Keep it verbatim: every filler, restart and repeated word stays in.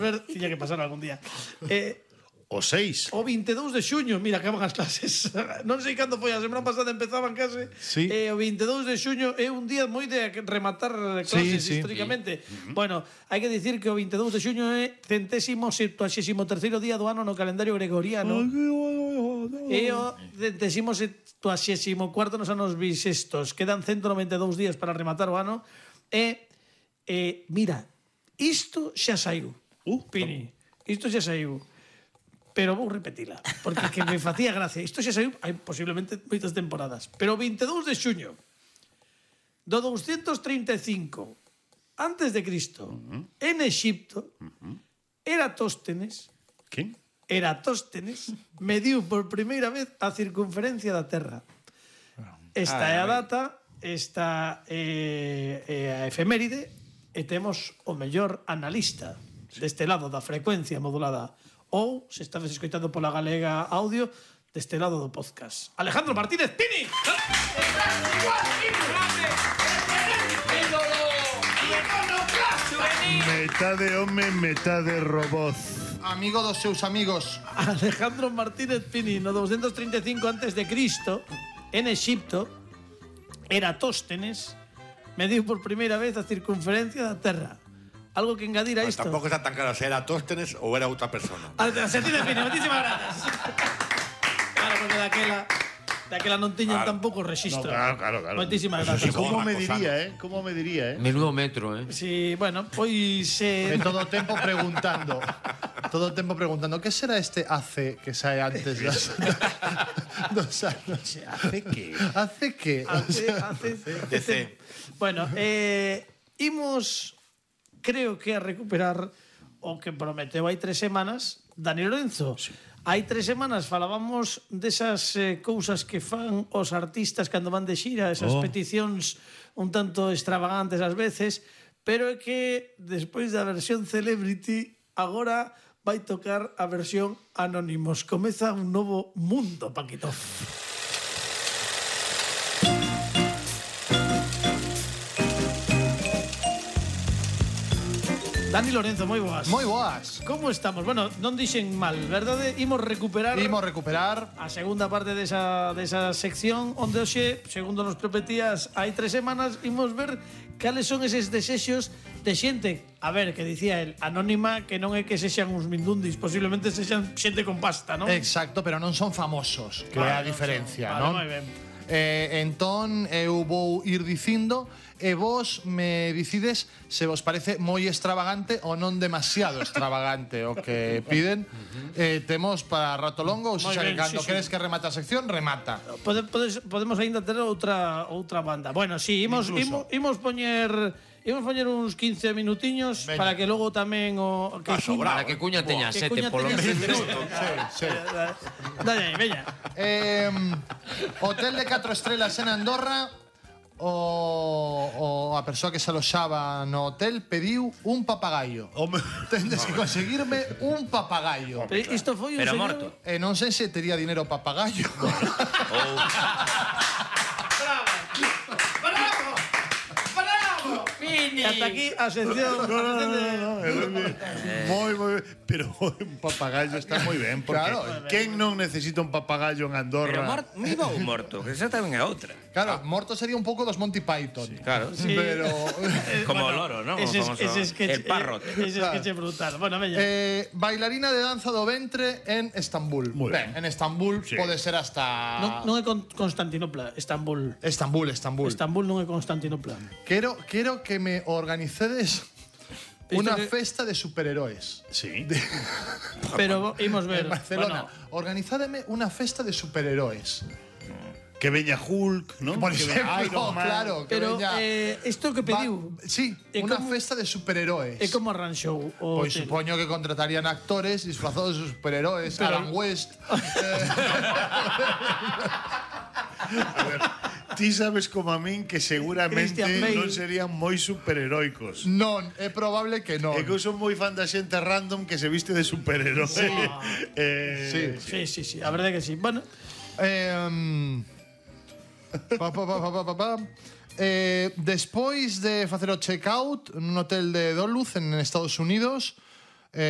ver, tiña que pasar algún día. Eh, O seis. o veintidós de xuño, mira, acaban as clases. Non sei cando foi, a semana pasada empezaban case. Sí. Eh, o veintidós de xuño é un día moi de rematar clases Sí, sí. históricamente. Sí. Bueno, hai que dicir que o veintidós de xuño é centésimo septuagésimo terceiro día do ano no calendario gregoriano. E o centésimo septuagésimo cuarto nos anos bisestos. Quedan ciento noventa e dous días para rematar o ano. E, e mira, isto xa saiu. Uh, Pini, isto xa saiu. Pero vou repetila, porque que me facía gracia. Isto xa saiu hai posiblemente moitas temporadas. Pero o veintidós de xuño do doscientos trinta e cinco antes de Cristo, uh-huh. en Exipto, uh-huh. Eratóstenes, ¿Quién? Eratóstenes mediu por primeira vez a circunferencia da Terra. Esta ah, é a data, esta é, é a efeméride, e temos o mellor analista deste lado da frecuencia modulada, ou, se estades escoitando pola Galega Audio, deste lado do podcast. Alejandro Martínez Pini! Metade home, metade robot. Amigo dos seus amigos. Alejandro Martínez Pini, no doscientos trinta e cinco antes de Cristo, en Exipto, Eratóstenes mediu por primeira vez a circunferencia da Terra. Algo que engadir a isto. Tampouco está tan claro se era Tóstenes ou era outra persona. Martínez Pini, moitísimas grazas. Claro, porque daquela daquela non tiñan claro. tampouco registro. No, claro, claro, claro. Moitísimas grazas. ¿Cómo me diría, eh? ¿Cómo me diría, eh? Menudo metro, eh. Sí, bueno, pois eh, De todo o tempo preguntando. Todo o tempo preguntando, que será este A C que sae antes das, dos anos? ¿Hace qué? ¿Hace que? hace, hace, D C. Bueno, eh, imos creo que a recuperar o que prometeu hai tres semanas Dani Lorenzo. Sí. Hai tres semanas falábamos desas eh, cousas que fan os artistas cando van de xira, esas Oh. peticións un tanto extravagantes ás veces, pero é que despois da versión Celebrity agora vai tocar a versión Anónimos. Comeza un novo mundo, Paquito. Dani Lorenzo, moi boas. Moi boas. Como estamos? Bueno, non dixen mal, verdade? Imos recuperar Imos recuperar a segunda parte desa, desa sección onde hoxe, segundo nos prometías hai tres semanas, imos ver cales son eses desexos de xente, a ver, que dicía el, anónima, que non é que sexan uns mindundis, posiblemente sexan xente con pasta, non? Exacto, pero non son famosos, que é a Vale, diferencia, vale, non? moi ben. Eh, entón, eu vou ir dicindo e vos me dicides se vos parece moi extravagante ou non demasiado extravagante o que piden. Eh, temos para rato longo, ou Moi xa que ben, cando sí, queres sí. que remate a sección, remata. Pode, podes, podemos aínda ter outra outra banda. Bueno, si, sí, imos, imos, imos poñer imos poñer uns quince minutiños. Veña. Para que logo tamén o que Paso, Cuña- Para que Cuña teña que sete, Cuña polo teña menos. sete. Sí, sí. Dalle aí, veña. Eh, hotel de catro estrelas en Andorra. O, o a persoa que se aloxaba no hotel pediu un papagayo. Home. Tendes que conseguirme un papagayo. Pero isto foi un Pero señor... morto. E non sei se tería dinero o papagayo. Bravo! Bravo! Bravo! Pini! Hasta aquí a sección. No, no, no, no, no. Moi, moi ben. Pero un papagayo está moi ben, porque Claro. quen non necesita un papagayo en Andorra? Pero morto, vivo ou morto, que esa tamén é outra. Claro, morto sería un pouco dos Monty Python. Claro. Sí. Pero Como o loro, ¿no? Ese, Como ese sketch, el parrot. Ese sketch brutal. Bueno, veña. eh, bailarina de danza do ventre en Estambul. Moi ben. En Estambul Sí. pode ser hasta non, non é con Constantinopla, Estambul. Estambul, Estambul. Estambul non é Constantinopla. Quero quero que me organicedes una que- festa de superheróis. Sí. Pero imos ver. En Barcelona. Bueno, Organizádeme una festa de superheróis. Que veña Hulk, ¿no? Por Que exemplo, veña Iron Man. claro, que pero veña eh, isto que pediu Va- sí, É una como- festa de superheróis. é como arranxou o Pois hotel. supoño que contratarían actores disfrazados de superheróis, Pero- Adam West. A ver, ti sabes como a min que seguramente Christian Bale. non serían moi superheroicos. Non, é probable que non. É que eu son moi fan da xente random que se viste de superhéroe. Sí. eh, Sí. Sí, sí, sí, a verdade que sí. Bueno, Eh, pa, pa, pa, pa, pa, pa, pa. Eh, despois de facer o checkout nun hotel de Duluth en Estados Unidos, Eh,